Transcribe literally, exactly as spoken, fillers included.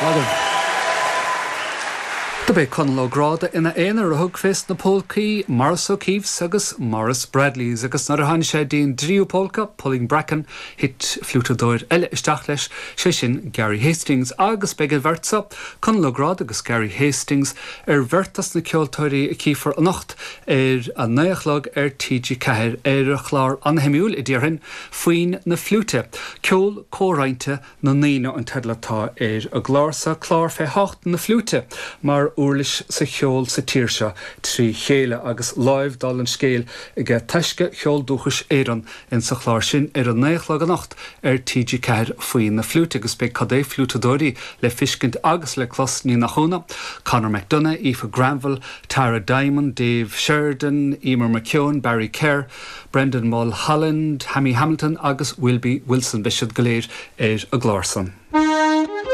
Maith. Dob é Conall Ó Gráda ina aonar a thug fés na polcaí Maurice O'Keefe's agus Maurice Bradley's agus nuair a tháinig sé dtí'n dtríú polca Pulling Bracken thit fliútadóir eile isteach leis sé sin Gary Hastings agus beidh an bheirt seo Conall Ó Gráda agus Gary Hastings ar bheirt as na ceoltóirí a chífear anocht ar a naoi a chlog ar TG Ceathair ar a chlár an-shuimiúil a déarfainn Foinn na Fliúite. Ceol comhroinnte na ndaoine an teideal atá ar an gclár sa clár fé thábhacht na fliúite mar uirlis sa cheol sa tír seo trí chéile agus láimh dála an scéil aige Taisce Cheol Dúchais Éireann in sa chlár sin ar a naoi a chlog anocht ar TG Ceathair Foinn na Fliúite agus beidh cad é fliútadóirí le fiscint agus le clos ní nach ionadh, Conor McDonagh, Aoife Granville, Tara Diamond, Dave Sheridan, Emer McKeown, Barry Kerr, Brendan Mulholland, Hammy Hamilton agus Wilby Wilson beidh siad go léir ar an gclár san.